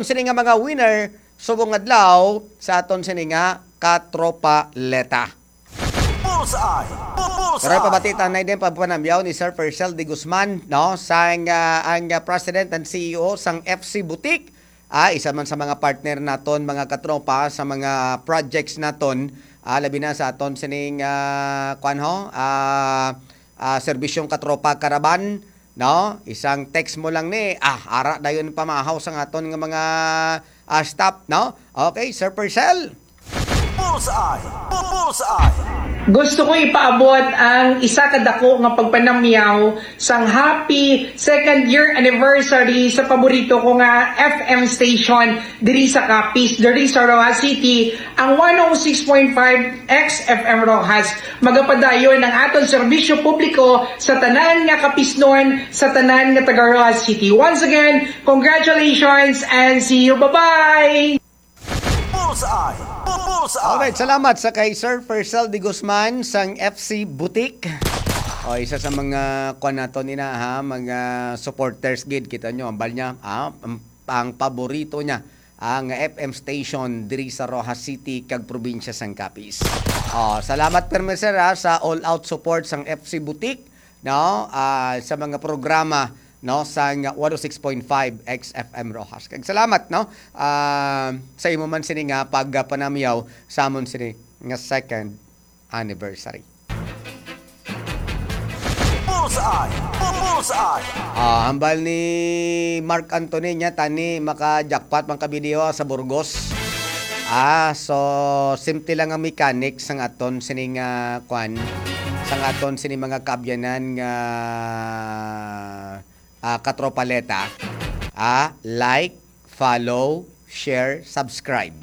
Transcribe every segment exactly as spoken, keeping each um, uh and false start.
sini nga mga winner subong adlaw sa aton sini nga Katropaleta. Bullseye! Bu-, Bullseye! Pero pabati ta na din pagpanamyaw ni Sir Percel de Guzman, no? Sang, ah, ang, ah, President and C E O sang F C Boutique. Ah, isa man sa mga partner naton, mga katropa, sa mga projects naton, ah, labi na sa aton sining, ah, kwan ho, ah, ah, serbisyong Katropa Caravan, no? Isang text mo lang ni, ah, ara dayon pamahaw sang aton nga mga, ah, staff, no? Okay, Sir Percel? Bullseye! Bu-, Bullseye! Gusto ko ipaabot ang isa ka dako nga pagpanamyaw sang happy second year anniversary sa paborito ko nga F M station diri sa Capiz, diri sa Roxas City, ang one oh six point five X F M Roxas. Magapadayon ang aton serbisyo publiko sa tanan nga Capiznon, sa tanan nga taga Roxas City. Once again, congratulations and see you. Bye-bye! Bullseye! Bu-, Bullseye! Alright, salamat sa kay Sir Percel de Guzman sang F C Boutique. O, isa sa mga kwan naton ina, ha, mga supporters gid, kita nyo, ambal niya, ah, ang, ang paborito niya, ang F M station diri sa Roxas City kag probinsya sang Capiz. Oh, salamat permi, sir, ha, sa all-out support sang F C Boutique, no? Ah, sa mga programa, no, sang one oh six point five X F M Roxas. Kag salamat, no, ah, sa imo man sini nga pagpanamyaw sa amon sini nga second anniversary. Bullseye! Bu-, Bullseye! Ah, hambal ni Mark Anthony niya, tani maka-jackpot man ka video sa Burgos. Ah, so, simple lang ang mechanics sang aton sining, ah, kwan, sang aton sining mga kaabyanan nga, ah, katropaleta. Ah, like, follow, share, subscribe.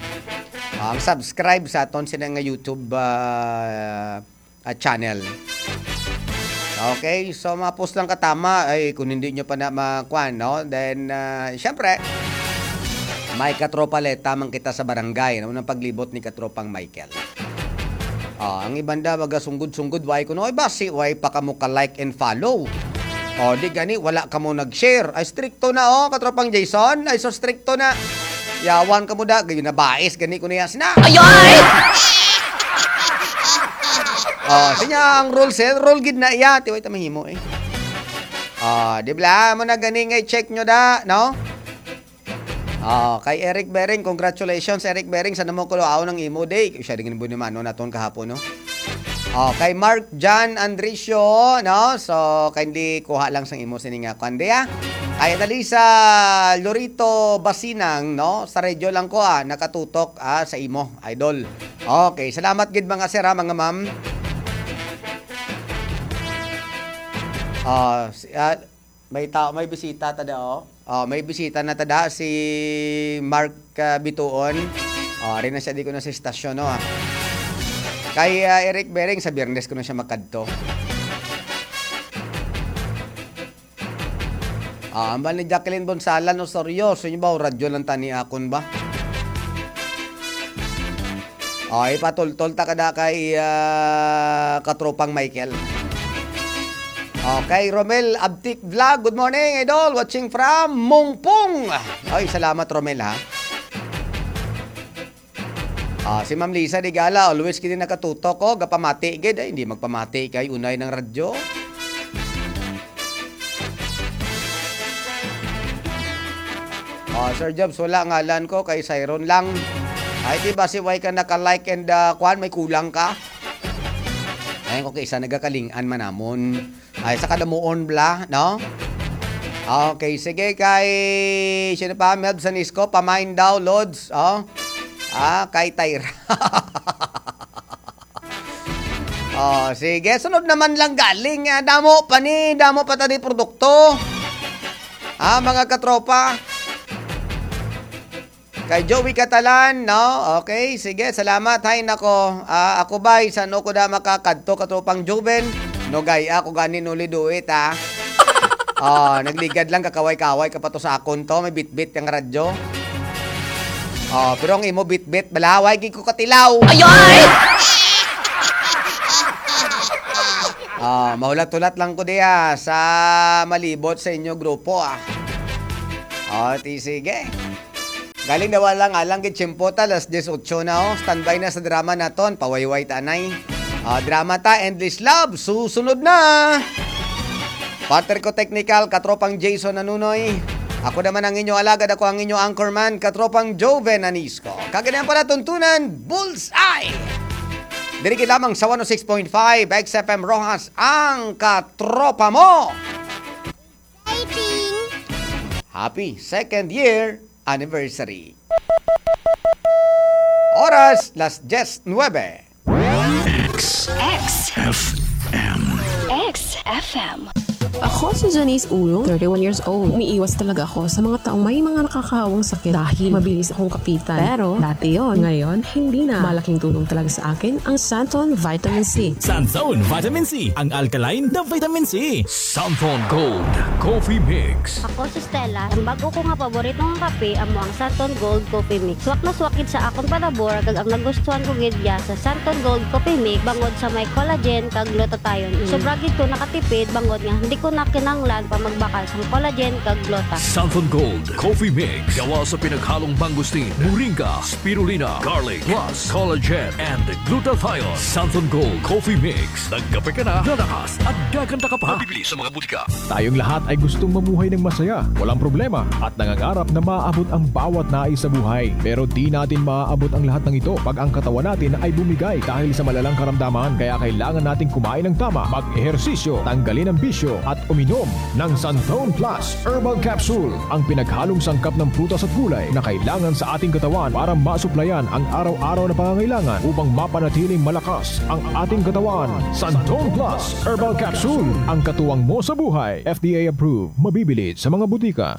Ah, ang subscribe sa aton sini nga YouTube, ah, ah, channel. Okay, so mapos lang katama ay kung hindi nyo pa na makuan, no? Then, ah, syempre, may katropaleta man kita sa barangay, no? Nang paglibot ni Katropang Michael. Ah, ang iban da, baga sunggod-sunggod, why ko, no? Ay, basi, why pa kamo ka like and follow? O, di gani, wala kamo nag-share. Ay, stricto na, oh, Katropang Jason. Ay, so stricto na. Yawan kamo da, gayon na bais, gani ko na yas na. Ayoy! Oh, siya ang rule, sir. Rule gid na iya. Tiway ta mahimo, eh. Ah, di ba? Mo na gani nga i-check nyo da, no? Ah, kay Eric Bering, congratulations, Eric Bering, sa namo kulo aw ng imo day. Siya din bunimano naton kahapon, no? Oh, kay Mark John Andricio, no? So, kindly kuha lang sang imo sini nga kuan, di, ah. Kay Adalisa Lorito Basinang, no? Sa radyo lang ko, ah, nakatutok, ah, sa imo, idol. Okay, salamat gid, mga sir, ha, mga ma'am. Ah, si, ah, may tao, may bisita ta da, oh. Oh, may bisita na ta da, si Mark, ah, Bituon. Oh, ari na siya, di ko na sa istasyon, no, ah. Kay, ah, Eric Bering, sa Biyernes ko na siya makadto. Ah, ambal ni Jacqueline Bonsalan Osorio, sa inyo ba, o radyo lang tani akon ba? Oh, ipatultol ta kada kay, ah, Katropang Michael. Okay, Romel Abtik Vlog, good morning, idol. Watching from Mungpung. Ay, salamat, Romel, ha. Ah, si Ma'am Lisa Digala, always kini nakatutok ko, gapamati gid, ay, hindi magpamati kay unay ng radyo. Ah, Sir Jobs, wala ngalan ko, kay Siron lang. Ay, di ba si Y ka naka-like and, ah, kwan, may kulang ka? Ayun ko kay isa nagakalingan man namon. Ay, sa kadamuon bla, no? Okay, sige, kay, sino pa? Melb Sanisco, pamain daw, Lods, oh. Ah, kay Tyra. Oh, sige, sunod naman lang galing. Ah, damo pa ni, damo pa tani produkto. Ah, mga katropa. Kay Joey Catalan, no? Okay, sige, salamat. Hay nako, ah, ako ba, san ko da makakadto, katropang Joven? No, gay, ako gani nuli duit, ha? Oh, nagligad lang, kakaway-kaway ka pa to sa akon to, may bitbit ang radyo. Oh, pero ang imo bitbit, balaway, gid ko katilaw. Ayoy! Ah, mahulat-hulat lang ko diya sa malibot sa inyo grupo, ah. Oh, ti sige. Galing na wala nga lang gid tiyempo ta, alas dieciocho na, oh. Standby na sa drama naton, pawayway ta anay. Ah, drama ta, Endless Love, susunod na. Partner ko technical, katropang Jason Nanunoy. Ako naman ang inyo alagad, ako ang inyo anchorman, katropang Joven Anisco. Kag ini ang palatuntunan, Bullseye! Diri gid lamang sa one oh six point five X F M Roxas, ang katropa mo. Exciting! Happy second year anniversary. Oras, las diez nuebe. X X F M. X F M. Ako si Janice Ulong, thirty-one years old. Umiiwas talaga ako sa mga taong may mga nakakahawang sakit dahil mabilis akong kapitan. Pero dati yon, ngayon hindi na. Malaking tulong talaga sa akin ang Santon Vitamin C. Santon Vitamin C, ang alkaline na vitamin C. Santon Gold Coffee Mix. Ako si Stella. Ang bago ko nga paborito nga kape amo ang Santon Gold Coffee Mix. Swak na swak gid sa akon palabor, kag ang nagustuhan ko gid ya sa Santon Gold Coffee Mix bangod sa may collagen kag glutathione. Mm. Sobra gid ko nakatipid bangod nga hindi ko na kinahanglan pa magbakal sang collagen kag gluta. Santon Gold Coffee Mix. Gawa sa pinaghalong mangosteen, moringa, spirulina, garlic, plus collagen and glutathione. Santon Gold Coffee Mix. Nagkape ka na, lalakas at gaganda ka pa. Mabibili sa mga butika. Tayong lahat ay gustong mamuhay ng masaya, walang problema, at nangangarap na maabot ang bawat nais sa buhay. Pero di natin maaabot ang lahat ng ito pag ang katawan natin ay bumigay dahil sa malalang karamdaman. Kaya kailangan nating kumain ng tama, mag-ehersisyo, tanggalin ang bisyo, at uminom ng Santon Plus Herbal Capsule, ang pinaghalong sangkap ng prutas at gulay na kailangan sa ating katawan para masuplayan ang araw-araw na pangangailangan upang mapanatiling malakas ang ating katawan. Santon Plus Herbal Capsule, ang katuwang mo sa buhay. F D A approved. Mabibili sa mga butika.